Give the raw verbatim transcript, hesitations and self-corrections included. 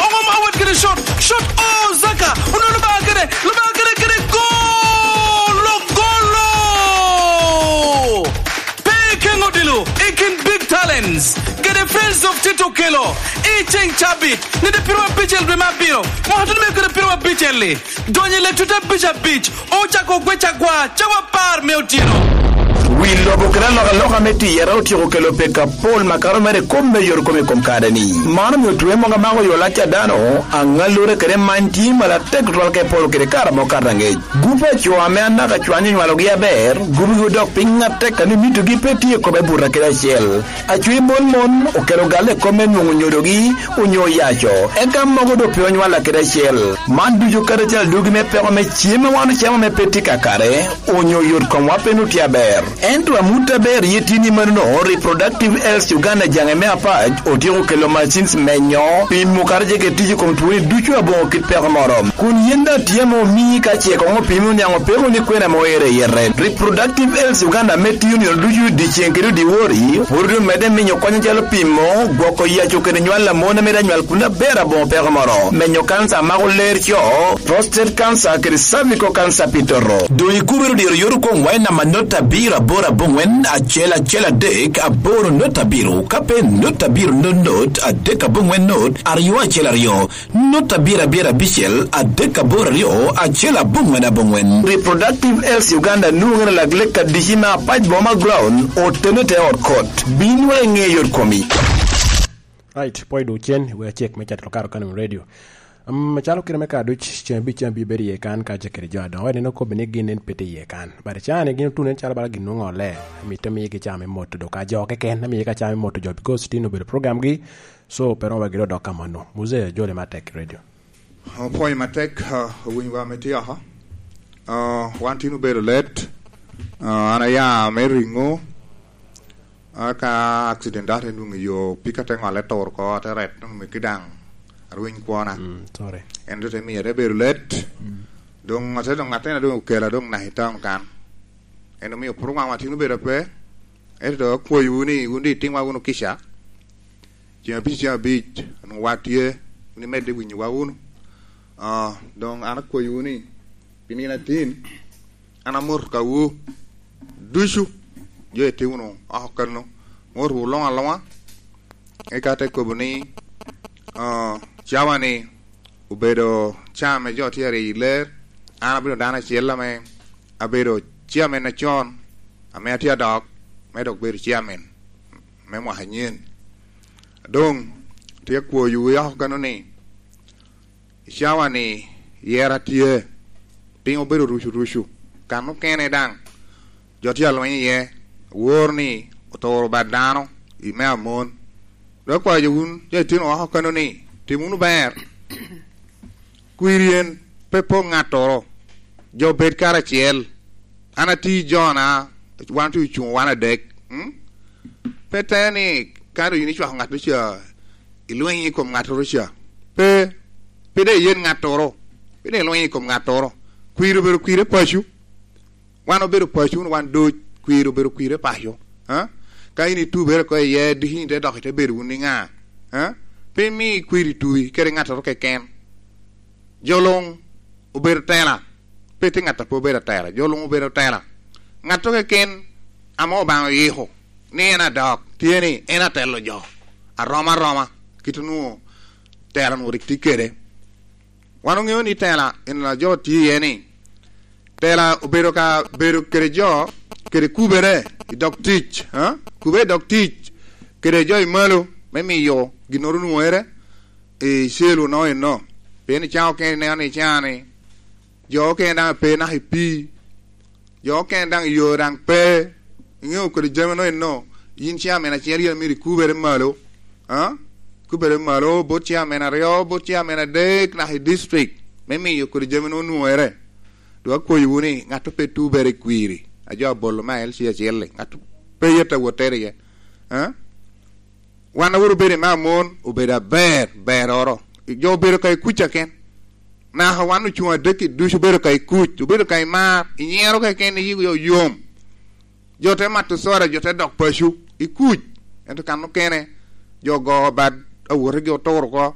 Oŋo ma wat kede shot, shot, oh, Zaka, onwoŋo lubaka kede, lubaka kede, kede gol, ogolo! Pe Ikeŋo Odilo, i kin big talents, kede Friends of Tito Okello, i ceŋ cabit, nede piro abicel dwe me abiro, mwaka tutumia kede piro abicel-li, donyo i lek tute abic abic, ocako ogwec agwa, cawa apar me otyeno. Wi lobo kede alokaloka me tiyere otyeko kelo peko apol makato mere i kop me yot kom i kom kare-ni. Man omio twe mogo amako yo lac a dano, aŋallure kede many tye malo atek tutwal ka ipolo kede kare ame okato aŋec. Gupe a co ame anaka cwanyo onywalogi aber, gubugi odok piny atek a ni mitogi pe tye i kome buto kede acel. Acwi mon mon okelo galle i kop me nwoŋo nyodogi onyo oyaco, eka mogo doŋ pe onywalla kede acel. Man ducu karacel dwogi me peko me cem a wan ocamo ame pe tye kakare, onyo yot komwa pe nut tye aber. Ento amut aber ye tye ni manono, Reproductive Health Uganda jaŋe me apac otyeko kelo machines menyo, pimo kadi jege tic i kom twoni ducu aboŋo kit peko moro. Kun yen daŋ tye ame omii ka ce koŋ opimi oniaŋ opeko ni kwena ame oero i yete. Reproductive Health Uganda ame tiyo nino ducu dyeceŋ kede dyewor-ri, pwod omedde miyo kony acalo pimo, gwoko yaco kede nywal a mon ame rik anywal kun aber aboŋo peko moro, menyo kanca a mako ler co, prostate cancer kede cervical cancer pi toto. Doŋ ikubere dyero yot okoŋ wa i namba not abiro aboro aboŋwen acel acel adek aboro not abiro, ka pe not abiro not not adek aboŋwen not aryo acel aryo. Not abiro abiro abicel adek aboro aryo acel aboŋwen aboŋwen. Reproductive Health Uganda nwoŋere lak lek adici me apac boma ground otene te ot kot. Bin wa iŋe yot komi. Right, pwony dwogo cen, we acek me cato lokaro Kanum Radio. Um, calo kite me ka duc, ceng abic ceng abiro bedo iye kan, ka ce kede jo adoŋo. Ene okobbe ni gin en pe tye iye kan. But cani gin otuno en calo bala gin nwoŋo olle. Mitte migi ca me moto do ka jo keken, amiye ka ca me moto jo, because tin obedo program gi. So, pe romo ba gire odok ka mano. Muse, jole matek i radio. Opwoyo matek, ah, owinyo wa me tye oko. Ah, wan tin obedo let. Ah, an aya me ringo. Ah, ka accident ate nwoŋo i yo, pika te ŋolle tur oko, ate ret, nwoŋo megi daŋ arweny kwona. Mm, sorry. En te miyo ate bedo let. Mm. Doŋ ate doŋ atena doŋ okela doŋ naka i town kan. En omio pwod wan tin obedo ape. Ento doŋ akwayowu ni wun doŋ itimwa wunu kica. Ceng abic, ceng abic, onwoŋo wa tye, wun imedde winyowa wunu. Ah, doŋ an akwayowu ni, pi nino atin, an amoto kawu ducu, jo ite wunu oko kano, motowu luŋ aluŋa. Eka te kobo ni, ah, cawa-ni obedo ca ame jo tye aryeyo i ler, an abedo dano acel ame abedo chairman acon, ame atye adok, me dok bedo chairman me mwaka anyen. Doŋ, tye akwoyowu oko kano ni, i cawa-ni, yera tye, piny obedo rucu rucu, kan okene daŋ, jo tye alweny iye, awor ni oturo bal dano i me amon. Dok akwayo wun, jo itino oko kano ni, tim wunu ber. Kwiri en pe pol ŋattoro, jo bed karacel. An ati jona, wan tye ocuŋ wan adek. Mm? Pe te ni, ka doŋ yin icwako ŋat ca, ilweny i kom ŋattoro ca. Pe, pe de iyen ŋattoro, pe de ilweny i kom ŋattoro. Kwiri obedo kwiri paco. Wan obedo paco, wun wan duc, kwiri obedo kwiri paco. Ha? Ka in itubere oko iye, diki in te dok ite bedo wun i ŋa? Ha? Pe imi kwiri tubi kede ŋattoro keken. Jo luŋ obedo tela, pe tye ŋat a pe obedo atela, jo luŋ obedo tela. Ŋat keken ame Obaŋa oyiko ni en adok, tye ni en atelo jo, aroma aroma, kit onwoŋo tela onwoŋo rik tye kede. Wan oŋeo ni tela en a jo tye iye ni, tela obedo ka bedo kede jo, kede kubere i dog tic, ha? Kubere i dog tic, kede jo i malo, me miyo ginnoro onwoŋere, i cel onoo eno. Pien i cawa okene ineno ni i cawa-ni, jo okene daŋ pe naka i pii, jo okene daŋ i yo daŋ pe. Iŋeo kodi jami onoo eno, yin chairman acel yin myero ikubere malo, ha? Kubere malo, bot chairman aryo, bot chairman adek naka i district, me miyo kodi jami onwoŋere. Dok akwayowu ni, ŋat pe tubere i kwiri, a jo abolo me L C acel-li, ŋat pe yet awot tere iye, ha? Wan a wot obedo i me amon, obedo aber, beroro. Jo obedo ka i kuc keken. Naka wan ocuŋ adek-ki ducu obedo ka i kuc, obedo ka i mar, inyero keken, iyiko yom. Jo te mato soda, jo te dok paco, i kuc. Ento kan okene, jo ogo bad awotegi oturo oko.